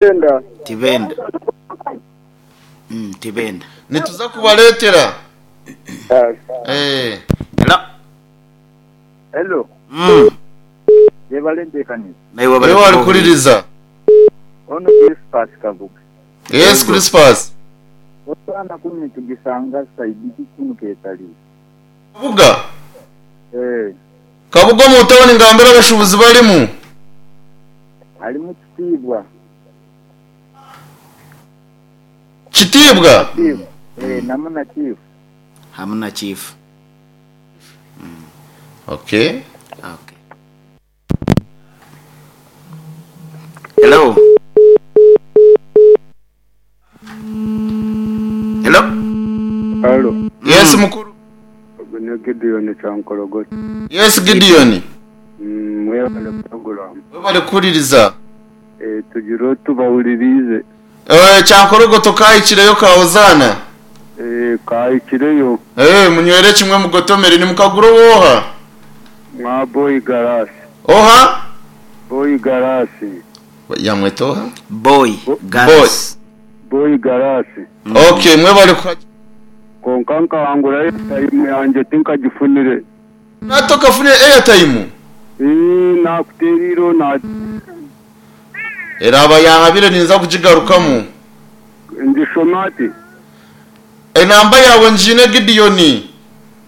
Tibenda. Tibenda. Mm, tibenda. Nituza kubareetera. Eh. Hello. Hello. Mm. Yebale enteekaniza. Naiwe Iwe wali kuhuririza. Ono Crispus Kabuga. Yes Crispus. Osaana kunu nitugisanga side ki kunu Ketaliisa? Kabuga? Eh. Kabuga omu tawuni ngambira abashubuzi barimu. Harimu Kitiibwa. Kitiibwa? Chief. Eh, namu na Chief. Hamu na Chief. Okay. Okay. Hello. Hello. Halo. Yes mukuru. Ogu ni Gideon Kyankorogoto. Yes Gideon. Mwebale puroguramu. Webale kuhuririza. Eh, tugire otubahuririize. Eh, Kyankorogoto kahikireyo ka Hozaana? Eh, kahikireyo. Eh, munywere kimwe mugotomere. Nimukagura ow'oha? Mwa Boy Garasi. Oha? Boy Garasi. Yamweta oha? Boy Garasi. Boy Garasi. Okay, mwebale kuhagira. Kwonka nkahangura airtime yangye tinkagifunire. Nati okafunire airtime? Ii, nakuteera ira na. Eraaba yanhabire ninza kugigarukamu. Ngishome ati. Enamba yaawe ngiine Gideon.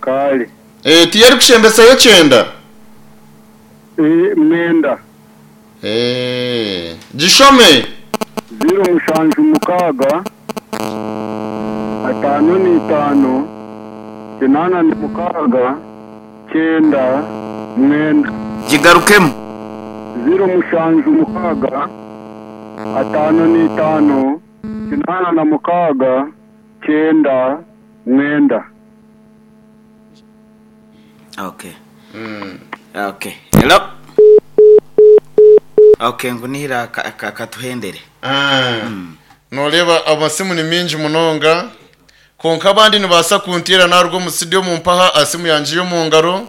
Kare. Eh, tiyo erikushembesayo kyenda? Ii, mwenda. Eh, gishome. Ziiro mushanju mukaaga, ataano n'eitaano, kinaana na mukaaga, kyenda, mwenda. Gigarukemu. 076, 55, 86, 9, 9. Okay. Okay. Hello. Okay, ngu nihira katuhendere. Nooreeba amasimu ni maingi munonga, kwonka abandi nibaasa kunteera naaruga omu studio mumpaha aha simu yangye y'omu ngaro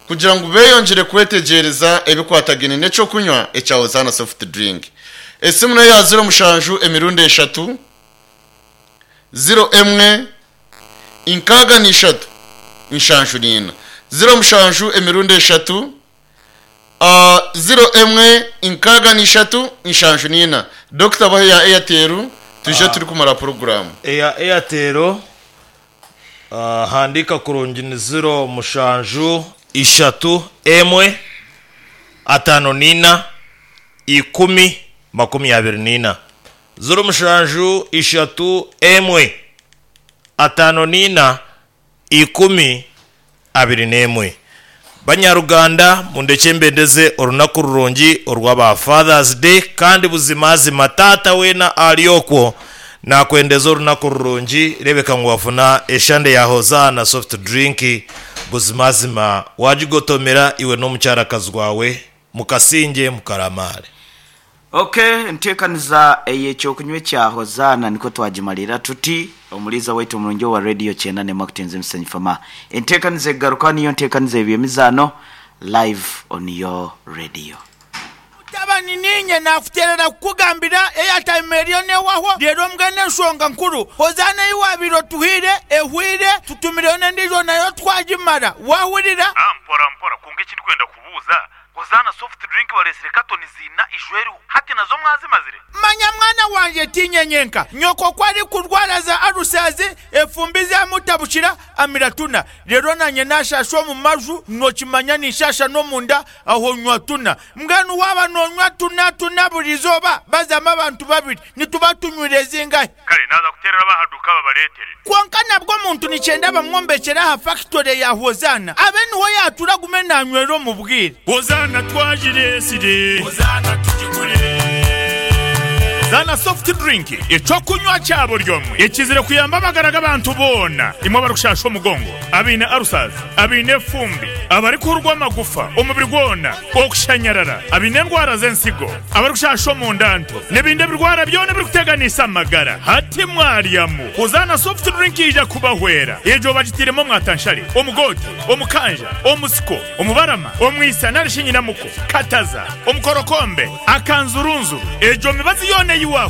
kugira ngu beeyongyere kwetegyereza ebikwatagaine n'eky'okunywa ekya Hosanna Soft Drink. Esimu n'eya 07 emirundi eshatu, 01 63 74. 07 emirundi eshatu, 01 63 74. Dokita bahe eya Airtel twije turikumara puroguraamu. Eya Airtel handiika kurungi ni ziro mushanju ishatu emwe ataano n'ina ikumi 24. 07 1 54 10 21. Banyaruganda mundekye mbendeze orunaku rurungi orwa ba Father's Day kandi buzimazima taata weena ari okwo nakwendeza orunaku rurungi rebeka ngu wafuna eshande ya Hosanna soft drink buzimazima wagigotomera iwe n'omukyarakazi wawe mukasingye mukaramaare. Ok, enteekaniza ey'ekyokunywa ekya Hozaana nikwo twagimarira tuti. Omuliiza waitu omurungi owa Radio Kyenda Nemakutinze Musenyi Fama. Enteekaniza ekugarukaho niyo nteekaniza y'eby'emizaano live on your radio. Mutabani niinye naakuteerera kukugambira airtime eriyo neehwaho reero mbwenu enshonga nkuru Hozaana ei waabaire otuhaire ehweire tutumireyo n'endiijo nayo twagimara waahurira? Mpora mpora kwonka eki ndikwenda kubuuza Hozaana soft drink bareetsire katoni ziina ijo eriho hati nazo mwazimazire? Manya mwana wangye tiinye nyenka, nyoko ku arikurwara za alusazi, efumbi zamutabukira, amira tuna. Reero naanye naashaasha omu maju, nookimanya ninshaasha n'omunda, aho nywa tuna. Mbwenu waaba noonywa tuna tuna buri izooba, bazamu abantu babiri, nituba tunywire zingahi? Kare naaza kuteerera ab'aha duuka babareetere. Kwonka nabwo omuntu nikyenda bamwombekyere aha fakitore ya Hozaana abe niho yaatura agume naanywera omu bwire. Hozaana twagireetsire. Hozaana tugigure. Hozaana soft drink eky'okunywa kya buri omwe ekizire kuyamba amagara g'abantu boona imwe abarikushasha omugongo, abaine ulcers, abaine efumbi, abarikuhurwa amagufa omubiri gwona, okushanyarara, abaine endwara z'ensigo, abarikushasha omunda nto n'ebindi ebirwara byona ebirikuteganisa amagara. Hati. Timwaryamu. Hozaana Soft Drink yaija kubahwera. Egyo bagitairemu omwatanshare, omugoote, omukanja, omusiko, omubarama, omwisa nari shi nyinamuko, kataza, omukorokombe, akanzurunzuru. Egyo mibazi yoona ei wa.